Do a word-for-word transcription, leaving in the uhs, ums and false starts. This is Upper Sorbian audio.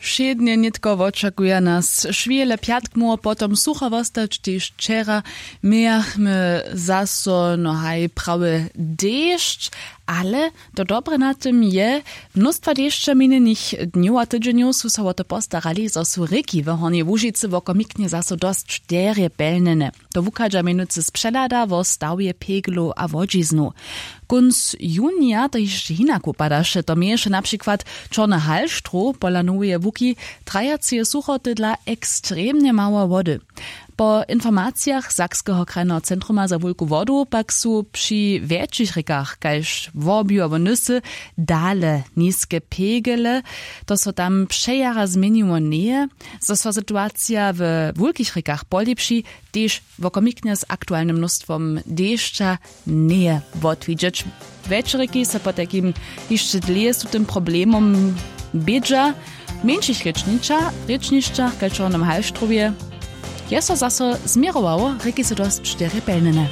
Wšědnje nětko wočakuja nas šwěle pjatk móhło potom sucho wostać tež wčera. Mějachmy zaso no haj prawy dešć, ale to dobre na tym je, mnóstwa dešća minjenych dnjow a tydźenjow su so wo to postarali zo su rěki w hornjej łužicy wokomiknje zaso dosć derje pelnjene. To wuchadźa mjenujcy z přehlada wo stawje peglow a łodźiznow. Kónc junija to hišće hinak wupadaše, to měješe na přikład čorny halštrow pola noweje łuki, trajaceje suchoty dla ekstremnje mało wody. Po informacijach sakskeho krajneho centruma za wulku wodu pak su při wjetšich rěkach kaž wobju abo nysy dale niske pegele. To so tam přejara změniło njeje. Zo so situacija we wulkich rěkach polěpši, tež wokomiknje z aktualnym mnóstwom dešća njeje wotwidźeć. Wjetšeriki so potajkim hišće dlěje z tutym problemom bědźa. W mjeńšich rěčnišćach kaž w čornym halštrowje je so zaso změrowało, rěki su dosć derje pelnjene.